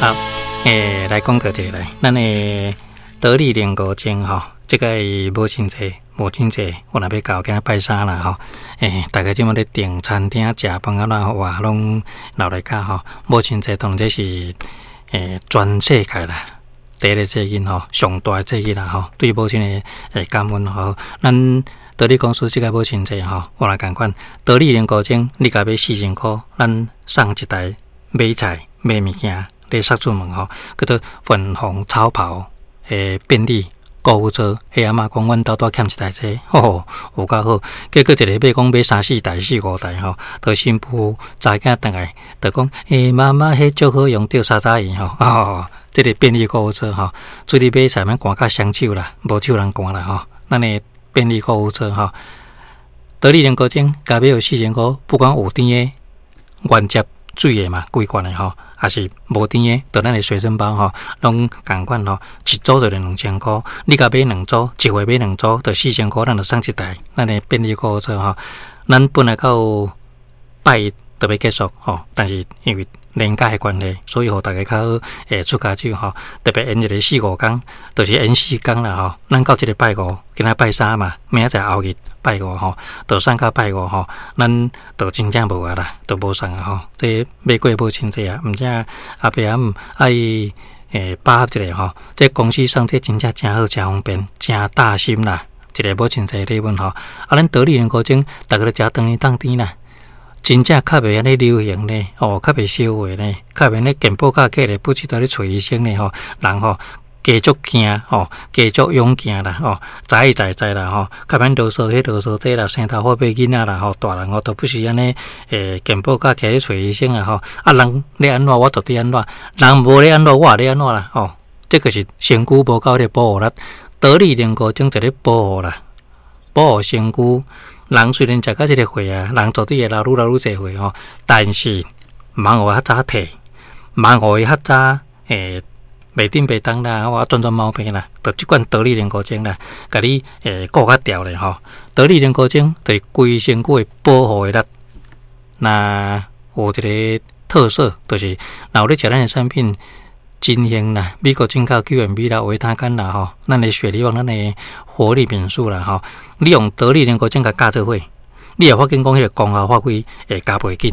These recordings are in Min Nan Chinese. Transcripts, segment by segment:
好，來講過一下來，咱的得力靈菇精吼，這個母親節，母親節，我若欲到今仔拜三啦吼，大家這馬咧訂餐廳食飯啊，啦哇，攏鬧來甲吼，母親節當這是全世界啦，第一个節日吼，上大的節日啦吼，對母親的感恩吼，咱得力公司這個母親節吼，我來共款，得力靈菇精，你共買4000箍，咱送一台買菜買物件。咧殺出門吼，叫做粉紅超跑的便利購物車。彼阿嬤講，阮兜拄欠一台車，吼吼，有夠好。結果一个買講買三四台、四五台吼，就新婦查囝轉來，就講：媽媽，彼足好用，著三早伊吼。哦，這个便利購物車吼，出去買菜免寒甲雙手啦，無手人寒啦吼。咱的便利購物車吼，得力靈菇精，共買予4000箍，不管有甜的、原汁水的嘛，規罐的吼，抑是無甜的，就咱的隨身包吼，攏仝款吼，一組就2000箍，你共買兩組，一回買兩組，就4000箍，咱就送一台咱的便利購物車吼。咱本來到拜一就欲結束吼，但是因為年假的關係，所以予大家較好會出跤手吼，特別延一个四五工，就是延四工啦吼。咱到這个拜五，今仔拜三嘛，明仔載後日拜五吼，就送到拜五吼，咱就真正無啊啦，就無送啊吼。這欲過母親節啊，毋知阿爸阿姆愛把握一下吼。這公司送這真正誠好，誠方便，誠貼心啦。一个母親節禮物吼，啊，咱得力靈菇精，逐家都食長年當甜啦。真正較袂按呢流行呢，哦，較袂燒話呢，較袂按呢健保卡過來不知道咧揣醫生呢吼，人吼加足驚吼，加足勇健啦吼，知知知啦吼，較免囉嗦彼囉嗦這啦，生頭髮變囡仔啦吼，大人吼都不是按呢，健保卡起去揣醫生啊吼，啊人咧按怎我絕對按怎，人無咧按怎我也咧按怎啦吼，這個是身軀無夠咧保護力，得力靈菇精就咧保護啦，保護身軀。人雖然食到這个歲啊，人絕對會老愈老愈濟歲吼，但是毋通予伊較早退，毋通予伊較早袂振袂動啦，我轉轉毛病啦，就這款得力靈菇精啦，共你顧較牢咧吼。得力靈菇精就是規身軀的保護的力，那有一个特色，就是若有咧食咱的產品。真興啦，美國進口 QMB 啦，維他乾啦吼，咱的雪梨王，咱的活力敏素啦吼，你用得力靈菇精共加做伙，你會發現講彼个功效發揮會加倍緊。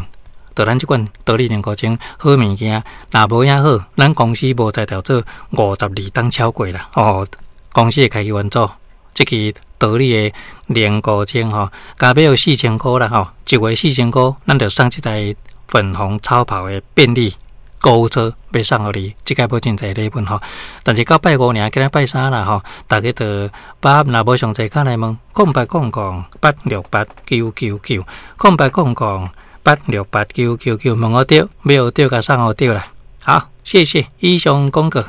就咱這款得力靈菇精好物件，若無影好，咱公司無才調做52冬超過啦。哦，公司會開去援助，這支得力的靈菇精吼，共買予4000箍啦吼，一月4000箍，咱就送這台粉紅超跑的便利購物車欲送予你，這個母親節禮物吼。但是到拜五爾，今仔拜三啦吼，大家就把若無上濟卡來問，0800868999，0800868999，問予著，買予著，共送予著啦。好，謝謝，以上廣告。